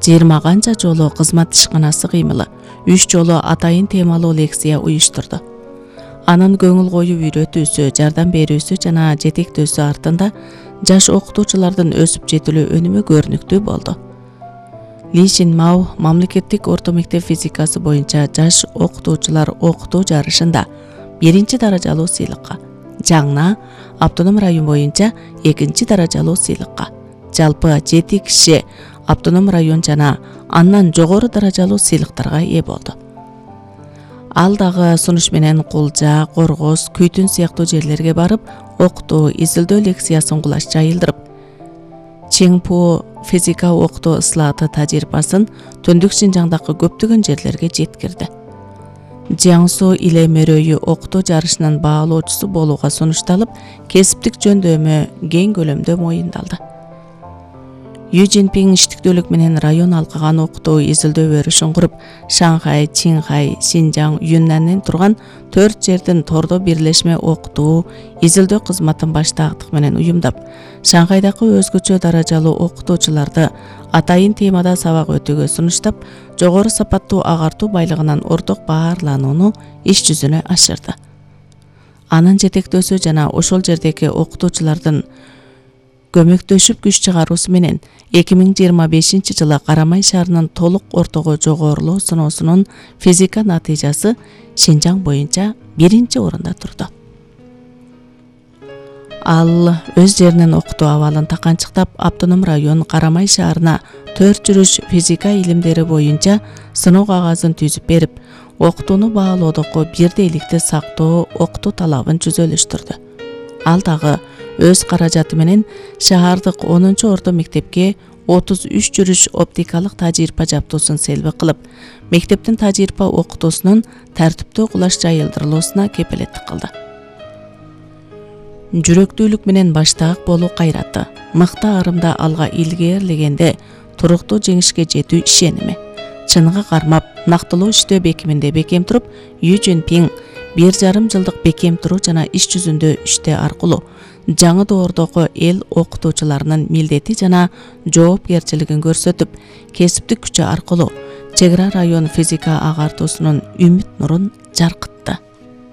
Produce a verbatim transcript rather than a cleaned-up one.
жыйырма канча жолу кызмат ишканасы кыймылы, үч жолу атайын темалуу лекция уюштурду. Анын көңүл коюп үйрөтүүсү, жардам берүүсү жана жетектөөсү артында жаш окутуучулардын өсүп жетилүү өнүмү көрүнүктүү болду. Ли Шинмао мамлекеттик орто мектеп физикасы боюнча жаш окутуучулар окутуу жарышында биринчи даражалуу сыйлыкка, Жаңна автоном район боюнча экинчи даражалуу сыйлыкка, жалпы жети киши автоном район жана андан жогору даражалуу сыйлыктарга ээ болду. Ал дагы сунуш менен Кулжа, Коргоз, Күйтүн сыяктуу жерлерге барып, окутуу, изилдөө лекциясын кулаш жайылдырып, Чиңпу физика окутуу ыслааты тажрыйбасын Төндүк Шинжаңдагы көптөгөн жерлерге жеткирди. Жиаңсу иле мөрөйү окутуу жарышынын баалоочусу болууга сунушталып, кесиптик жөндөмү кең көлөмдө моюндалды. Ю Цзиньпин иштиктүүлүк менен район алкаган окутуу изилдөө өрүшүн куруп, Шанхай, Чинхай, Синжаң, Юннанден турган төрт жердин тордо бирлешме окутуу, изилдөө кызматын баштаактык менен уюмдап, Шанхайдагы өзгөчө даражалуу окутуучуларды атайын темада сабак өтүүгө сунуштап, жогору сапаттуу агартуу байлыгынан орток баарланууну иш жүзүнө ашырды. Анын жетектөөсү жана ошол жердеги окутуучулардын көмөктөшүп күч чыгаруусу менен эки миң жыйырма бешинчи жылы Карамай шаарынын толук ортого жогорулоо сыноосунун физика натыйжасы Шинжаң боюнча биринчи орунда турду. Ал өз жеринин окутуу абалын таканчыктап, автоном район Карамай шаарына төрт жүрүш физика илимдери боюнча сыноо кагазын түзүп берип, окутууну баалоодогу бирдейликти сактоо окутуу талабын жүзөлүштүрдү. Ал дагы өз каражаты менен шаардык онунчу орто мектепке отуз үч жүрүш оптикалык тажрыйба жаптуусун селби кылып, мектептин тажрыйба окутуусунун тартиптүү кулаш жайылдырылуусуна кепилеттик кылды. Жүрөктүүлүк менен баштаак болуу кайраты, мыкты арымда алга илгээрлегенде туруктуу жеңишке жетүү ишеними, чыныгы кармап, нактылуу иштөө бекиминде бекем туруп, Ю Цзиньпин бир жарым жылдык бекем туруу жана иш жүзүндө иштөө аркылуу жаңы доордогу эл окутуучуларынын милдети жана жоопкерчилигин көрсөтүп, кесиптик күчү аркылуу чек ара район физика агартуусунун үмүт нурун жаркытты.